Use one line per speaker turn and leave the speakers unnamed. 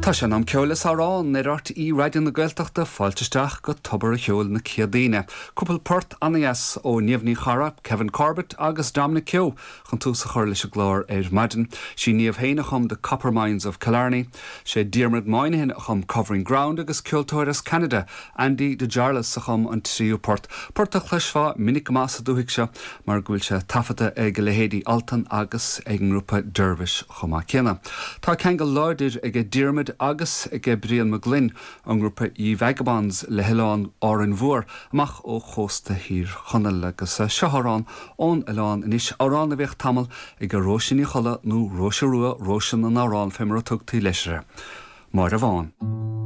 Tá sé in am ceoil is amhrán ar RTÉ Raidió na Gaeltachta, fáilte isteach go Tobar a' Cheoil na Céadaoine. Cúpla port ana-dheas ó Niamh Ní Charra, Kevin Corbett agus Dominic Keogh chun tús a chur leis an gclár ar maidin. Sí Niamh féin a chum The Copper Mines of Killarney. Sé Diarmuid Moynihan a chum Covering Ground agus ceoltóir as Ceanada, Andy DeJarlas a chum an tríú port, port a chloisfeá minic go maith sa dúthaigh seo mar go bhfuil sé taifeadta ag a leithéidí Altan agus ag an ngrúpa Dervish chomh maith céanna. Tá ceangal láidir aige Diarmuid agus aige Brian Mac Gloinn ón ngrúpa Ye Vagabonds le hoileán Árainn Mhór amach ó chósta Thír Chonaill agus seo amhrán ón oileán anois, amhrán a bhíodh tamall ag Róise Ní Cholla nó Róise Rua, Róise na nAmhrán fé mar a tugtaí leis uirthi. Máire Bhán.